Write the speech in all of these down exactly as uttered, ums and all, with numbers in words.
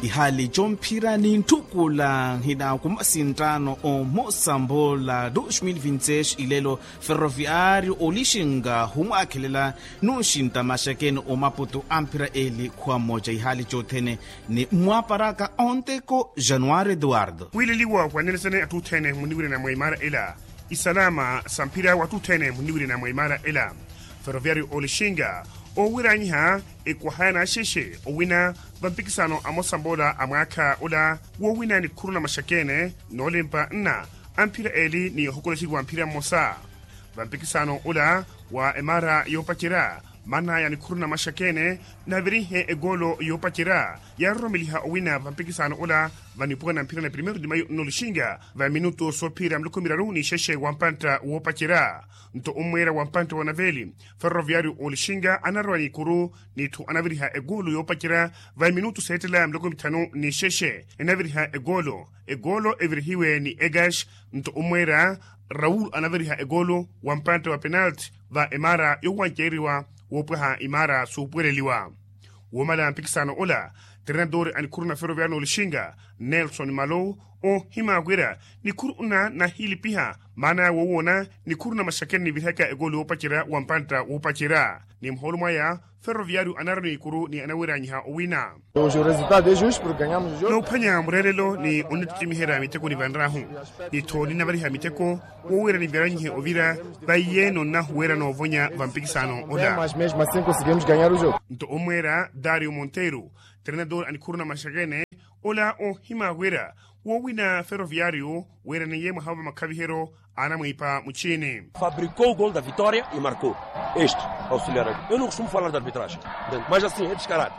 Ihaali comphira ni ntthukula nhina kumasinttaano omosambola dos mil vinti seis ilelo ferroviario olixinga humwaakhelela nunxintta maxakeni omaputu amphira eli khuwa mmoja ihaali cothene ni mmwaparaka onteko januari eduardo. Wiileliwa wanenesene atthu othene muniwirina mwa imara ela isalama samphira watthu othene muniwirina mwa imara ela ferroviario olixinga owiranyiha ekwahaya naxexe owina vampikisaano amosambola a mwaakha ola wowina nikhuru na maxakeni noolimpa nna amphira eli ni ohokolexeriwa mphira mmosa vampikisaano ola wa emara yoopacerya manaya nikhuru na maxakeni navirihe egoolo yoopacerya yaaroromeliha owina vampikisaano ola vanipuwa na mphira na primeiro de maio nno olixinga va minutu soophira miloko miraru ni xexe wa mpantta woopacerya nto ommweera wa mpantta wa naveli ferroviario olixinga anarowa nikuru n'itthu anaviriha egoolo yoopacerya va minutu seettela miloko mithanu ni xexe enaviriha egoolo egoolo evirihiwe ni egash nto ommweera raul anaviriha egoolo wa mpantta wa penalti va emara yowanceeriwa woopwaha imara suupuweleliwa woomala mpikisano ola trenador a nikhuru na ferroviario n'olixinga nelson malou oohimya wira nikhuru nna nahilipiha maana woowoona nikhuru na maxakeni nivirihaka egoolo yoopacerya wa mpantta woopacerya ni muhoolo mwaya ferroviario anarwa n'ikuru ni anawiranyiha owina. Noophwanya mureerelo ni onnittimiherya miteko nivanrahu ni tho ninnavariha miteko wowira niviranyihe ovira vaiye nonnahuwera noovonya va mpikisano ola. Nto ommweera dario monteiro trenador a nikhuru na maxakene ola oohimya wira wowina ferroviario wiraneiye mwaha va makhaviheryo anamwiipa muchini. Fabrikou gol da vitoria e markou este auxiliar eu no costumo falar da arbitragem mas assim é descarado.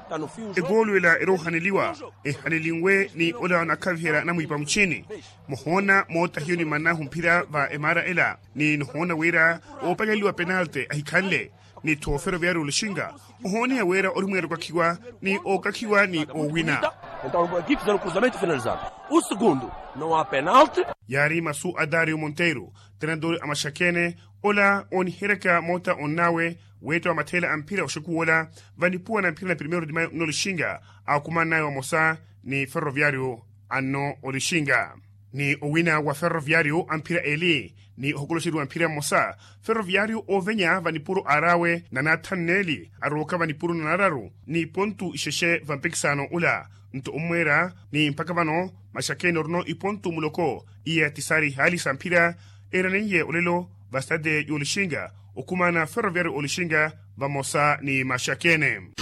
Egoolo ela eroohaneliwa ehanelinwe ni ola onakhaviherya anamwiipa muchini muhoona moota hiyo nimannahu mphira va emara ela ni nihoona wira oopaleliwa penalte ahikhanle ni tho ferroviario olixinga ohooniha wira ori mweera okakhiwa ni ookakhiwa ni oowina. Então equipe zero cruzamento finalizado o segundo não há penalte. Yaari masu a dario monteiro trenador a maxakene ola ooniheryaka moota onnaawe weetta wa matheela a mphira oxekuwa ola vanipuwa na mphira na primeiro de maio nno olixinga akumannawe vamosa ni ferroviario anno olixinga ni owina wa ferroviario a mphira eli ni ohokoloxeriwa mphira mmosa ferroviario oovenya va nipuro aar'awe na naathanu neeli arooka va nipuro na naararu ni pontu ixexe va mpikisano ula nto ommweera ni mpakha vano maxakeni orino ipontu muloko iya ti saari ihaali sa mphira eeraneiye olelo va stade y'olixinga okhumana ferroviario olixinga vamosa ni maxakeni.